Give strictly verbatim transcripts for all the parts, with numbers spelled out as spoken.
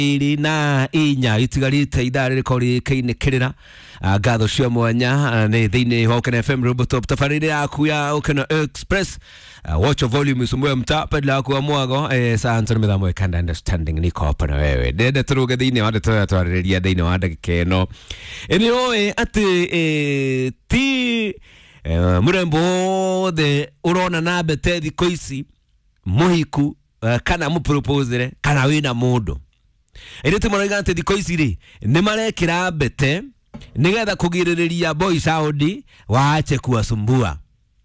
Iri na inya itigarite ithaa rĩrĩko rĩkĩinĩkĩrĩra ngatho cia mwanya nĩ thĩinĩ wa Ũkena F M Robotop tabarĩre yaku ya Ũkena Express. Watch your volume usumbue mtaa pedla yaku wa mwago eh, saa nto mĩthamo ĩkanda understanding niko hapa na wewe ndende tũrũge thĩinĩ wa ndeto ya twarĩrĩria thĩinĩ wa ndagĩka ĩno. Nĩ ũĩ atĩ eh, ti eh, mũrembo wothe ũrona na mbete thikũ ici mũhiku eh, kana mũproposere kana wĩna mũndũ. Airĩtu marauga atĩ thikũ ici rĩ nĩ marekĩra mbete nĩgetha kũgirĩrĩria boy sound waache kuwasumbua.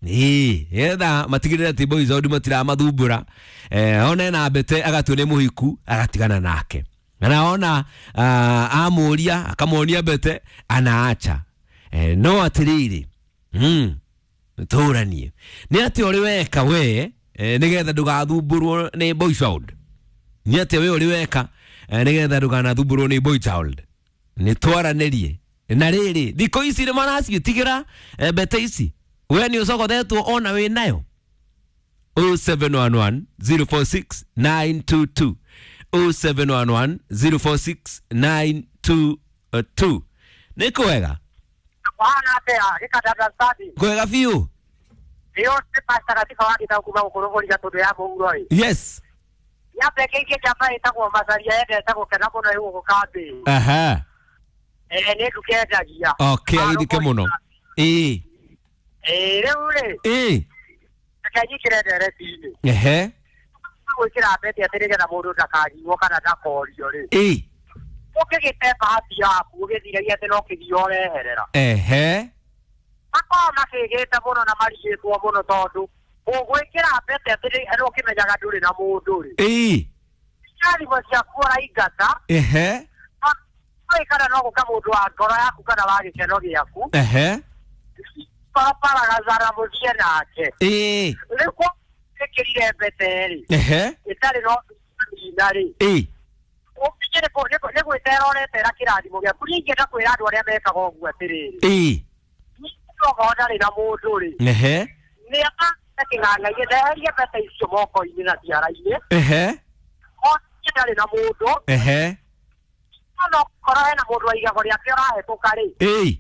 Ĩĩ, nĩgetha matigĩrĩre atĩ boy sound matiramathumbũra. Eh, ona ena mbete agatua nĩ mũhiku agatigana nake. Na ona uh, amũria akamuonia mbete anaacha. Eh, no atĩrĩrĩ, mm, tũranie nĩ atĩ ũrĩ weka we eh, nĩgetha ndũgathumbũrwo nĩ boy sound. Nĩ atĩ we ũrĩ weka nĩgetha ndũkanathumbũrwo nĩ boy child. Nĩ twaranĩrie na rĩrĩ thikũ ici nĩ maraciĩtigĩra mbete ici we nĩ ũcogothetwo ona wĩ nayo. oh seven one one zero four six nine two two oh seven one one zero four six nine two two. Nĩ kwega Bwana atea gikadada stadi kwega biũ iyo nĩ pasta katika wagita kuma gũkũrũgũria tondũ ya mũhuro ĩ. Yes. Yambekeirie njamba ĩtagwo Macaria endete gũkena mũno ĩ gũkũ kambĩ. Aha. Eh, nĩ nduka endagia. Okay, agithike mũno. Ĩĩ. Ĩĩ, rĩu rĩ. Ĩĩ. Reke nyingĩre ndereti-inĩ. Ehe. Gwĩkĩra mbete atĩ nĩgetha mũndũ ndakariũo kana ndakorio rĩ. Ĩĩ. Ũkĩgĩte bahati yaku ũgĩthiragia atĩ no kĩgio ũreherera. Ehe. Makoragwo makĩgĩte mũno na marigĩtwo mũno tondũ ũgwĩkĩra mbete atĩ no ũkĩmenyaga ndũrĩ na mũndũ rĩ. Ĩĩ. Ciathimũ ciaku ũraingata. Ehe. Kana no gũka mũndũ wa ngoro yaku kana wa gĩkeno gĩaku. Ehe. Paragazara mũthiĩ nake. Ĩĩ. Rĩu ĩkĩrire mbete rĩ. Ehe. Ĩtarĩ no thĩna rĩ. Ĩĩ. Ũkinye nĩ gwĩtera ũretera kĩrathimo gĩaku. Niĩ ingĩenda kwĩra andũ arĩa mekaga ũguo atĩrĩrĩ. Ĩĩ. Okorwo ndarĩ na mũndũ rĩ. Ehe. Nĩ akĩng'ang'aine ndeherie mbete icio moko-inĩ na ciara-inĩ. Ehe. Onie ndarĩ na mũndũ. Ehe. No korwo hena mũndũ wa igego rĩake ũrahĩtũka rĩ. Ĩĩ.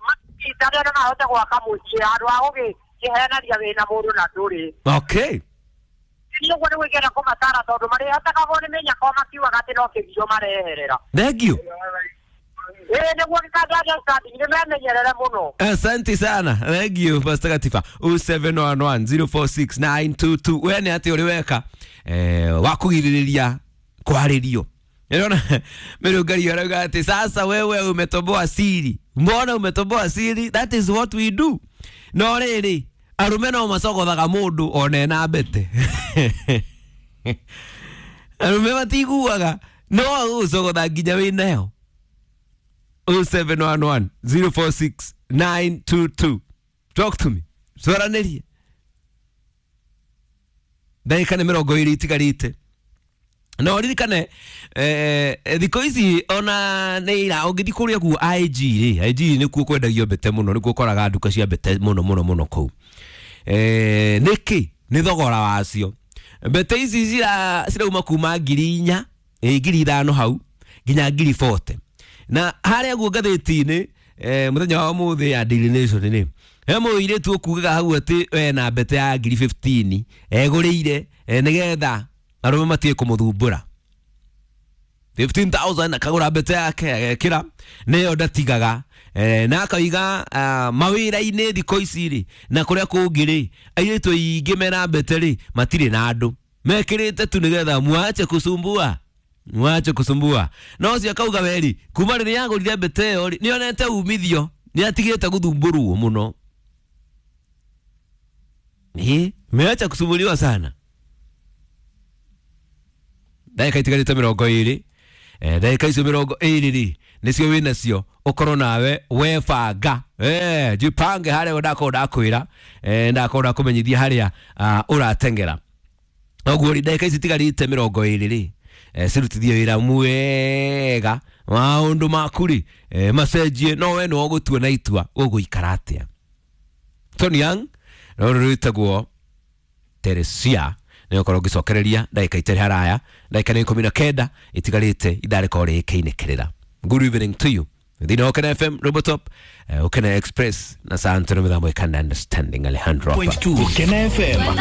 Makinyitane na mahote gwaka mũciĩ handũ ha gũgĩkĩhenania wĩna mũndũ na ndũrĩ. Okay. Niĩ ũguo nĩguo ingĩenda kũmatara tondũ marĩhotakagwo nĩ mĩnyaka makiugaga atĩ no kĩgio mareherera. Thank you. Ĩĩ nĩguo gĩkandania standing nĩ memenyerere mũno. Asante sana. Thank you Pastor Katifa. oh seven one one zero four six nine two two. We nĩ atĩ ũrĩ weka eh wa kũgirĩrĩria kwarĩrio. Unaona Mĩrũngari arauga atĩ sasa wewe umetoboa siri. Mbona umetoboa siri? That is what we do. No rĩrĩ arume no macogothaga mũndũ ona ena mbete. Arume matiguaga no agũcogotha nginya wĩ nayo. oh seven one one zero four six nine two two. Talk to me. Twaranĩrie. Ndagĩka nĩ mĩrongo ĩrĩ itigarĩte. No ririkane eh thikũ ici ona nĩ ira ũngĩthiĩ kũrĩa kuo I G rĩ, I G nĩkuo kwendagio mbete mũno, nĩkuo ũkoraga nduka cia mbete mũno mũno mũno kũu. Eh nĩkĩ nĩ thogora wacio. Mbete ici cira cirauma kuma ngiri inya, eh ngiri ithano hau nginya ngiri forty. Na harĩa guo ngathĩti-inĩ eh mũthenya wa ũmũthĩ ya Daily Nation rĩ, he mũirĩtu ũkugaga hau atĩ ena mbete ya ngiri fifteen egũrĩire nĩgetha arũme matige kũmũthumbũra. fifteen thousand akagũra mbete yake agekĩra nĩyo ndatigaga eh, na akauga uh, mawĩra-inĩ thikũ ici rĩ na kũrĩa kũngĩ rĩ airĩtu aingĩ mena mbete rĩ matirĩ na andũ mekĩrĩte tu nĩgetha mwache kusumbua mwache kusumbua. No ũcio akauga weri kuma rĩrĩa agũrire mbete ĩyo rĩ nĩonete umithio nĩatigĩte gũthumbũrwo mũno. Ĩ meacha kusumbuliwa sana. Ndagĩka itigarĩte mĩrongo ĩrĩ eh ndagĩka icio mĩrongo ĩrĩ rĩ nĩcio wĩnacio ũkorwo nawe webanga eh jipange harĩa ndakorwo ndakwĩra eh ndakorwo ndakũmenyithia harĩa uh, ũrateng'era. Ũguo rĩ ndagĩka ici itigarĩte mĩrongo ĩrĩ rĩ eh cirutithie wĩra mwega maũndũ maku rĩ eh, macenjie no we nĩwe ũgũtua na itua ũgũikara atĩa. Tony Young rũrũ rwĩtagwo Teresia Nĩ ũkorwo ngĩcokereria ndagĩka itarĩ haraya, ndagĩka nĩ ikũmi na kenda itigarĩte ithaa rĩkorwo rĩkĩinĩkĩrĩra. Good evening to you thĩinĩ wa Ũkena F M Robotop, uh, Ũkena Express na Santino mĩthambo ĩkana understanding Alejandro hapa. Point two Ukena F M.